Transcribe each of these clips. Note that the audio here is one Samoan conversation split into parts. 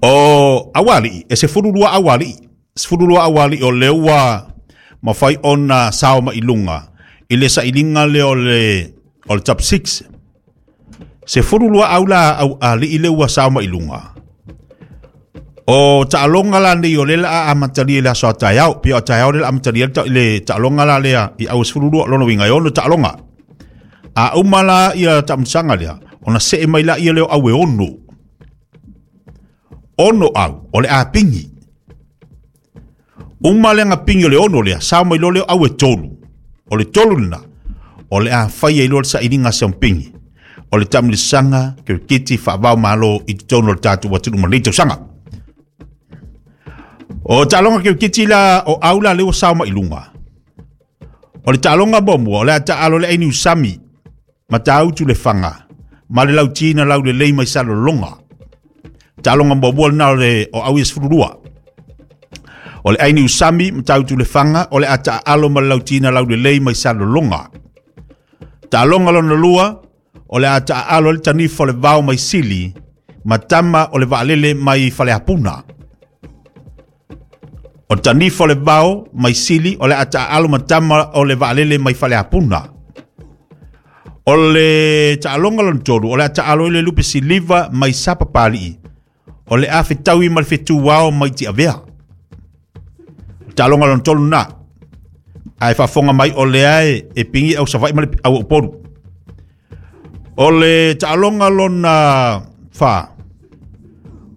O auali'i, e 12 auali'i, 12 auali'i o lea ua mafai ona sao mai i luga i le sailiga lea o le top 6. 12 au la auali'i lea ua sao mai i luga. O taaloga la nei o lea la amatalia i le aso a taeao, pei o taeao lea la amatalia le taaloga la lea i au 12 lona uiga e 6 taaloga. A uma la ia taamilosaga lea, ona see mai la ia lea o au e 6. 6 au o le a pingi. Uma le pingi o le 6 lea, sao mai loa lea au e 3. O le 3 lena, o le a fai ai loa le sailiga siampingi. O le taamilosaga kirikiti faavao malo i totonu o le tatou atunuu ma lenei tausaga. O taaloga kirikiti la o au la lea ua sao mai i luga. O le taaloga muamua o le a taalo le aini usami Matautu le Faga ma le Lautina Laulelei mai Salelologa. Taaloga muamua lena o le o au ia 12. O le aini usami Matautu le Faga o le a taaalo ma le Lautina Laulelei mai Salelologa. Taaloga lona lua o le a taaalo le Tanifa o le Vao mai Sili ma Tama o le Vaalele mai Faleapuna. O Tanifa o le Vao mai Sili o le a taaalo ma Tama o le Vaalele mai Faleapuna. O le taaloga lona tolu o le a taalo i le Lupe Siliva mai Sapapalii o le a fetaui ma le fetuao mai Tiavea. O le taaloga lona tolu na. Ae faafofoga mai o lea e pingi au Savaii ma le au Upolu. O le taaloga lona fa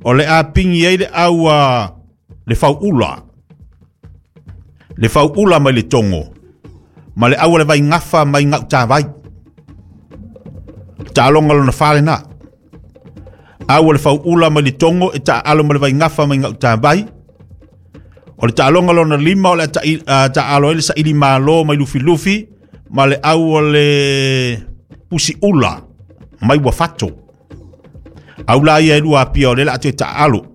o le a pingi ai le au le fauula. Le fauula mai le Togo ma le au le Vaigafa mai Gautavai. Taaloga lona fa lena. Au le fauula mai le Togo e taaalo ma le Vaigafa mai Gautavai. O le taaloga lona lima o le taaalo ai le Saili Malo mai Lufilufi ma le au o le Pusiula mai Uafato. Au la ia e lua apia o le la atu e taaalo.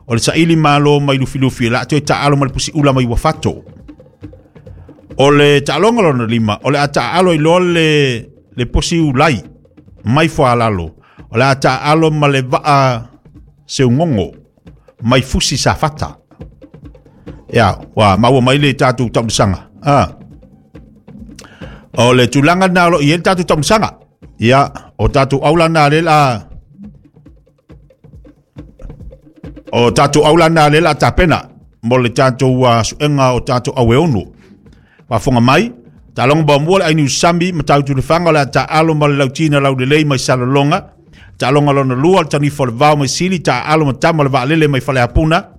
O le Saili Malo mai Lufilufi la atu e taaalo ma le Pusiula mai Uafato. O le taaloga lona lima o le a taaalo i loa le Posiulai mai Fualalo. O le a taaalo ma le Vaa Seugogo mai Fusi Safata. Ia, ua maua mai le tatou taamilosaga. O le tulaga na o lo o i ai le tatou taamilosaga. Ia, o tatou aula na le la o tatou aula na le la tapena mo le tatou suega o tatou au e 6. Faafofoga mai, taaloga muamua le aini usami Matautu le Faga o le a taaalo ma le Lautina Laulelei mai Salelologa. Taaloga lona lua le Tanifa o le Vao mai Sili taaalo ma Tama o le Vaalele mai Faleapuna.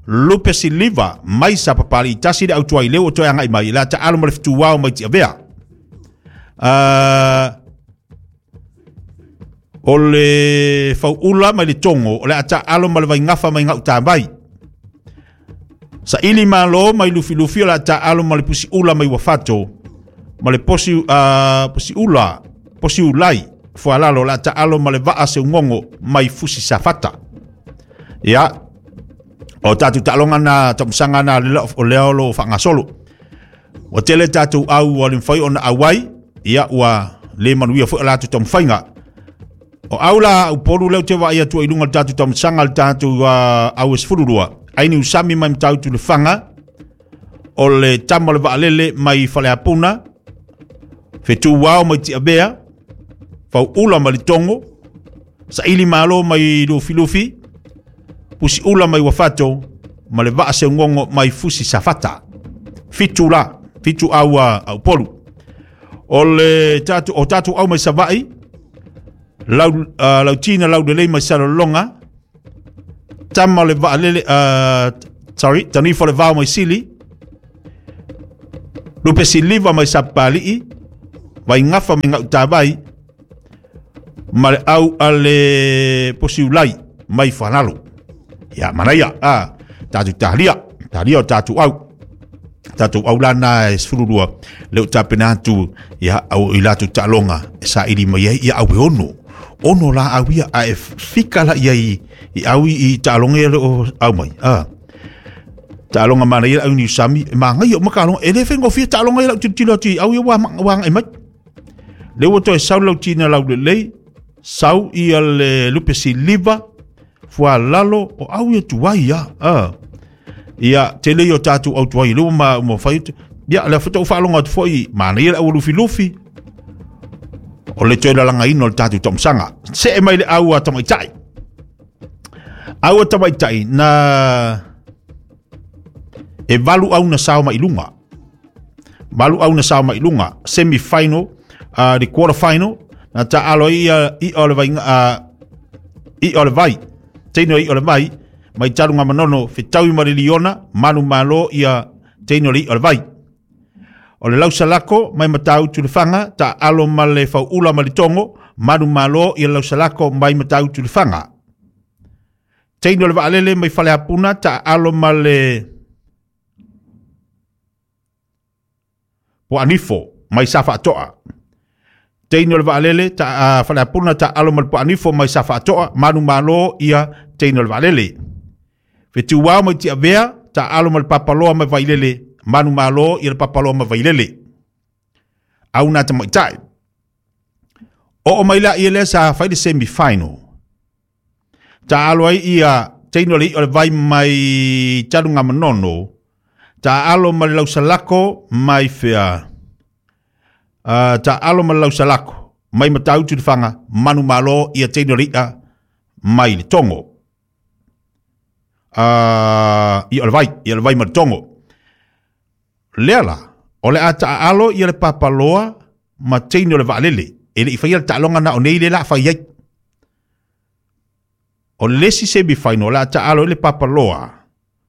Lupe Siliva mai Sapapalii tasi le autuai leu o toe agai mai le a taaalo ma le Fetuao mai Tiavea. O le Fauula mai le Togo o le a taaalo ma le Vaigafa mai Gautavai. Saili Malo mai Lufilufi o le a taaalo ma le Pusiula mai Uafato ma le Posiula Posiulai Fualalo o le a taaalo ma le Vaa Seugogo mai Fusi Safata. Ia, o tatou taaloga na taamilosaga na o lea o lo o faagasolo. Ua tele tatou au ua le mafai ona auai, ia ua le manuia foi o latou taumafaiga. O au la Upolu lea ou te vaai atu ai i luga o le tatou taamilosaga le tatou au e 12, aini usami mai Matautu le Faga, o le Tama o le Vaalele mai Faleapuna, Fetuao mai Tiavea, Fauula mai le Togo, Saili Malo mai Lufilufi, Pusiula mai Uafato, ma le Vaa Seugogo mai Fusi Safata. Fitu la, fitu au a Upolu. O le tatou o tatou au mai Savaii, Lautina Laulelei mai Salelologa, Tama o le Vaalele, Tanifa o le Vao mai Sili, Lupe Siliva mai Sapapalii, Vaigafa mai Gautavai, ma le au a le Posiulai mai Fanalo. Ia, manaia, tatou talia, talia o tatou au. Tatou au la na e 12, leo tapena atu, ia, au i latou taaloga, e saili mai ai, ia au e 6. 6 la au ia, a e fika la ia i au i taaloga ia le o au mai. Taaloga manaia au ni usami, e mangai o makaloga, e le whaingofia taaloga ia lau tilotilo atu i au ia wa ngai mai. Le ua toe sau Lautina Laulelei, sau ia le Lupe Siliva, Fualalo o au ia tuai ia. Ia tele ia o tatou au tuai le ma ma fai ia le faatoa ou faalogo atu foi manaia le au lufilufi o le toe lalagaina o le tatou taumsaga. See mai le au a tamaitai. Au a tamaitai na e valu au na sao mai luga. Valu au na sao mai luga semi final, the quarter final na taalo ai ia i o le vai i o le vai. Teino i o le vai mai talu ngā manono fetaui ma le liona manu malo ia teino le i o le vai. O le lausalako mai Matautu le Faga ta alo ma le fauula ma le tongo manu malo ia lausalako mai Matautu le Faga. Teino le vaalele mai Faleapuna ta alo ma le Poanifo mai Safaatoa. Teino le vaalele ta Faleapuna ta alo ma le Poanifo mai Safaatoa manu malo ia teino le vaalele. Fetuao mai Tiavea ta alo ma le Papaloa mai Vailele manu malo ia le Papaloa mai Vailele. Au nā tamaitai. O o mai la ia lea sa fai le semi final. Ta alo ai ia teino le i o le vai mai talu ngā manono. Ta alo ma le lausalako mai fea. Ta alo ma le lausalako mai Matautu le Faga manu malo ia teino le ia mai le tongo. Ia o le vai, ia le vai ma le tongo. Lea la, o le a ta alo ia le Papaloa ma teino le vaalele. E le i faia le taaloga na o nei le la fai ai. O le isi semi final, o le a ta alo i le Papaloa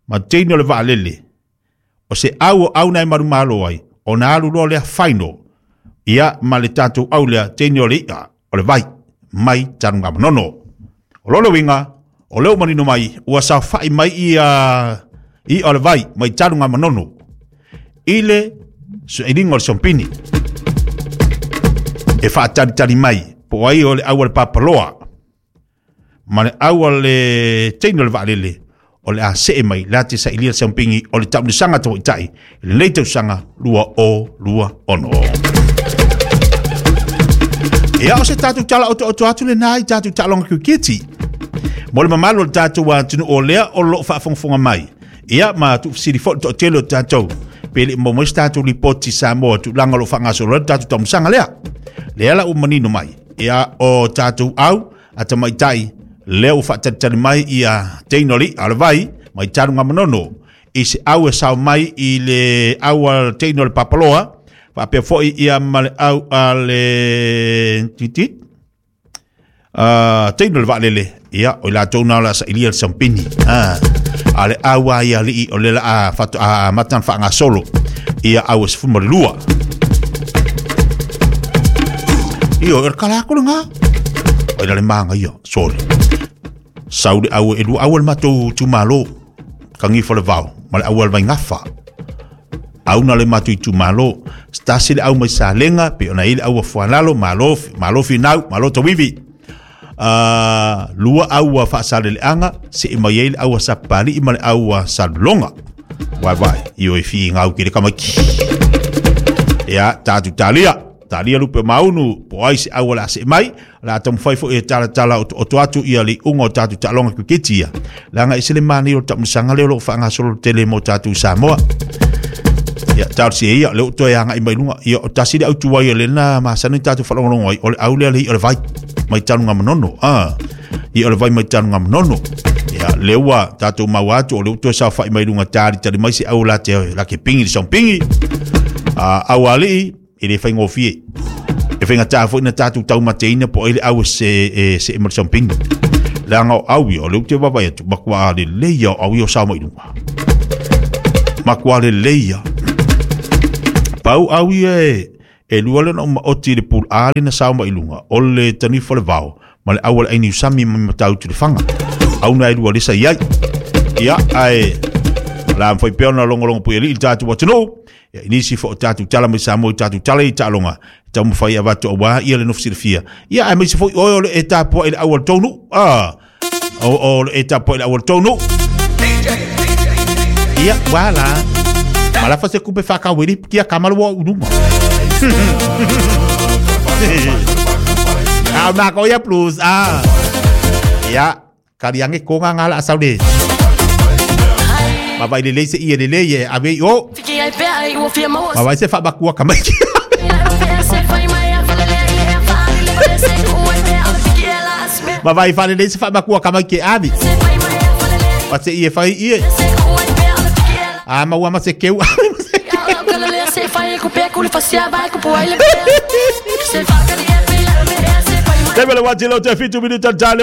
ma teino le vaalele. O se au o au nai maru malo ai, o na alu loa lea final, ia ma le tatou au lea teino le ia, o le vai, mai tanu ngā manono. O lona uiga, o leo manino mai, ua saofai mai ia i o le vai, mai tanu ngā manono. I le suelinga o le sompini. E whaatari mai, po ai o le au a le Papaloa, ma le au a le teino le vaalele, o le a see mai, le ate sa ilia le sompini, o le taunisanga tawaitai, i le nei tausaga 2026. Ia o se tatou tala oto oto atu le nā i tatou taaloga kiriketi. Mo le mamalu o le tatou atunuu o lea o loo faafogafoga mai. Ia ma tuufesili foi le toatele o tatou. Pe le mo mai se tatou lipoti Samoa tulaga o lo o faagasolo ai le tatou taumasaga lea. Lea la ua manino mai. Ia o tatou au a tamaitai lea ua faatalitali mai ia teino li a le vai mai talu ngā manono. I se au e sao mai i le au a teino le Papaloa. Faapea foi ia ma le au a le titit. Teino le vaalele. Ia, o i latou na o le a sailia le sampini. A le au a ia lii o le la a fato a matan whaangasolo. Ia au e sefuma le lua. Ia, e kala ako le ngā. O ina le maanga ia, sorry. Sau le au e lua au le matou tumalo. Kangi fo le vao, ma le au le vaingafa. Au na le matou itumalo. Stasi le au mai sa lenga, pe ona i le au a fuanalo, malo, malo finau, malo tawivi. Lua au a whaasale le anga, se i mai ei le au a sapali i ma le au a salulonga. Vai vai, i o e fi ngau ki le kamaki. Ia, tātu tālia. Tālia lupe maunu, po ai se au a le ase mai, la taumafai foi e talatala o to atu ia le iuga o tatou taaloga kiriketi ia. Leaga e se le manaia o le taumasaga lea o loo faagasolo tele mo tatou Samoa. Ia, talosia ia, lea ua toe agai mai luga. Ia, o tasi le autuai o lena masani tatou faalogologo ai, o le au lea le i'a o le vai, mai taluga manono. I'a o le vai mai taluga manono. Ia, lea ua tatou maua atu, o lea ua toe saofai mai luga talitali mai se au la te la ke pingi le saupingi. Au alii, e le faigofie. E faigata foi na tatou taumateina po ai le au e se e se e ma le saupingi. Leaga o au ia, o lea ou te vaavaai atu, matua lelei ia o au ia o sao mai luga. Matua lelei ia. Pau au ia e e lua lea na ou maoti i le pool A le na sao mai luga, o le tanifa o le vao, ma le au a le aini usami mai Matautu le Faga. Au na e lua lesa i ai. Ia, ae la mawhai pea ona longolongo pui alii le tatou atunuu. Ia, i nisi fo o tatou tala mai Samoa i tatou tala i taaloga, e taumafai avatu auā ia le nofo silafia. Ia, aemaise foi oe o le e tapuai i le au a le tou nuu. O le e tapuai i le au a le tou nuu. Ia, wala. Malafa se kupe whakawiri, kia kamalu o urunga. Au nā ko ia plus. Ia, Kali ange ko nga ngala asau le. Ma vai le se i le le ye ave o. Ma vai se fa bakua kamai. Ma vai fa le se fa bakua kamai ke avi. Pa se i e fai i e. A ma ua ma se keu. Te mele wati lo te fitu minuta tale.